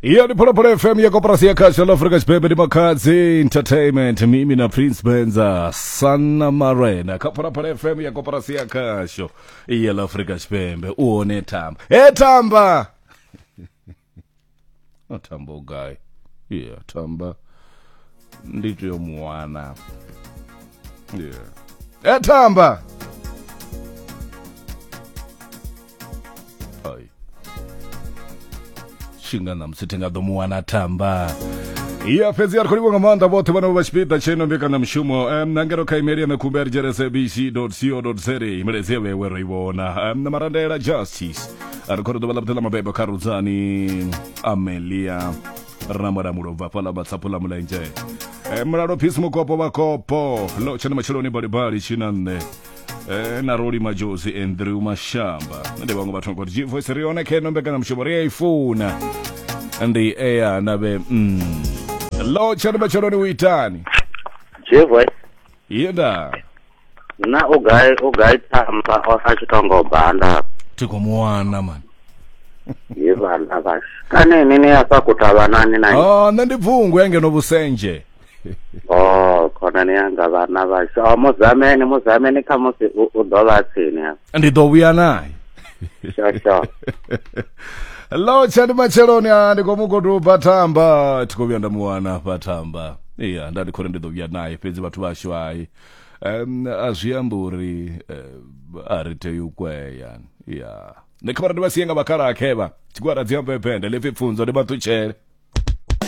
Iyo ndi Phalaphala FM ya koporasi ya khasho la Afrika Tshipembe, ndi Makhadzi Entertainment, mimi na Prince Benza Sanna Marena kha Phalaphala FM ya koporasi ya khasho ya la Afrika Tshipembe. U hone Thamba, he Thamba, o Thamba u gai? Yeah, Thamba ndi tea u mu wana. Yeah, he Thamba. Ai. Tshinga ṋamusi thi nga ḓo mu wana Thamba. Ya fhedzi a ri khou livhuwa nga maanḓa vhoṱhe vhane vha vha tshipiḓa tsheno mbekanyamushumo. Na ngeno kha email ya ṋekhumbe ri dzhena sabc co za, milaedza ya vhewe ro i vhona. Na Marandela Justice a ri khou ri ḓuvha ḽa vhuḓi ḽa mabebo kha Rudzani Amelia Ramulamulo bva fhaḽa Matsapho ḽa Mulenzhe. Mulalo Peace Mukopo vha Kopo ḽo tshena matsheloni balibali tshina nṋe. Na Roli Majozi, Andrew Mashamba ndi vhaṅwe vhathu ngori G Voice ri hone kha ino mbekanyamushumo ri a i funa ndi eya na vhe lo tshani matsheloni u itani? G Voice. Yenda. Na u gai, u gai Thamba a tshi tongo banda? Thi khou mu wana mani. Ye vhana vhashu kane ini ni afha kutavhanani na? Oh, nṋe ndi bvungu ya ngeno Vhusendzhe. Oh, khonani yanga, vhana vhashu. Oh, muzameni, muzameni, khamusi u ḓo vha tsini hafha. Ndi ḓo vhuya naye. Sure, sure. Lo tshani matsheloni a ndi khou mugoduba Thamba, thi khou vhuya nda mu wana hafha Thamba. Iya, nda ndi khou ri ndi ḓo vhuya naye, fhedzi vhathu vhashu hai a zwi ambi uri a ri tei u kwea. Ya nṋe kha vhara ndi vha sie nga vhakalaha khevha tshigwada dzi ambe bende ḽipfi pfunzo ndi vha ṱutshele.